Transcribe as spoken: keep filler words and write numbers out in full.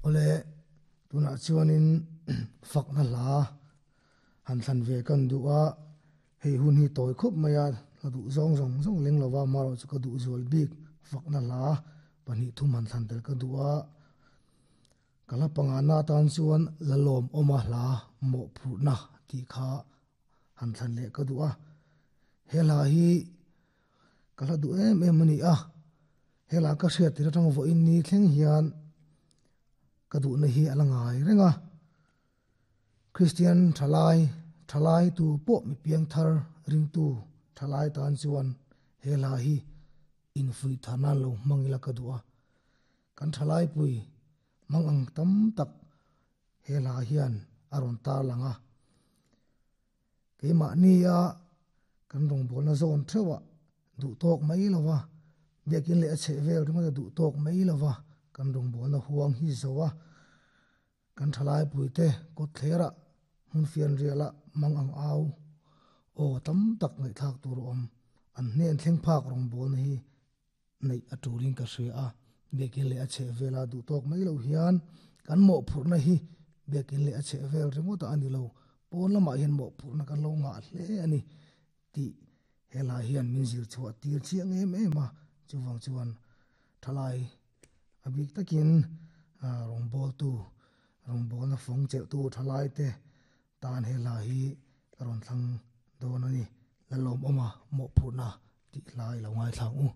Ole tunah chuanin fakna hla han thlan ve kan duh a, hei hun hi tawi khawp mai a, ka duh zawng zawng zawng leng lova marawh chu ka duh zual bik fakna hla pahnih thum han thlan tel ka duh a. Ka hla pangana atan chuan lalawm awma hla mawhphurhna tih kha han thlan leh ka duh a. He hla hi ka hla duh em em a ni a, he hla ka hriat tir atang vawiin ni thleng hian ka duhna hi a la ngai reng a. Kristian thalai thalai tu pawh mi piang thar ringtu thalai tan chuan he hla hi infuih thar nan lo hmang ila ka duh a. Kan thalai pui mang ang tam tak he hla hian a rawn tar lang a. Keimahni a kan rawngbawlna zawn theuh a duh tawk mai lova, biakin leh a chheh vel ringawt a duh tawk mai lova, kan rawngbawlna huang hi zo a. Kan thalai puite kawt thlerah hmun fian rialah mang ang au aw tam tak ngaihthlak tur a awm. An hnen thleng phak rawngbawlna hi neih a tulin ka hria a. Biakin leh a chheh vela duh tawk mai lo hian kan mawhphurhna hi biakin leh a chheh vel ringawt a ni lo. Pawn lamah hian mawhphurhna kan lo ngah hle a ni tih he hla hian min zir chhuah tir chiang em em a. Chuvang chuan thalai a bik takin rawngbawltu rawngbawlna fawng chelhtu thalai te tan he hla hi ka rawn thlang dawn a ni. Lalawm awma mawhphurhna tih hla i lo ngaithlang u.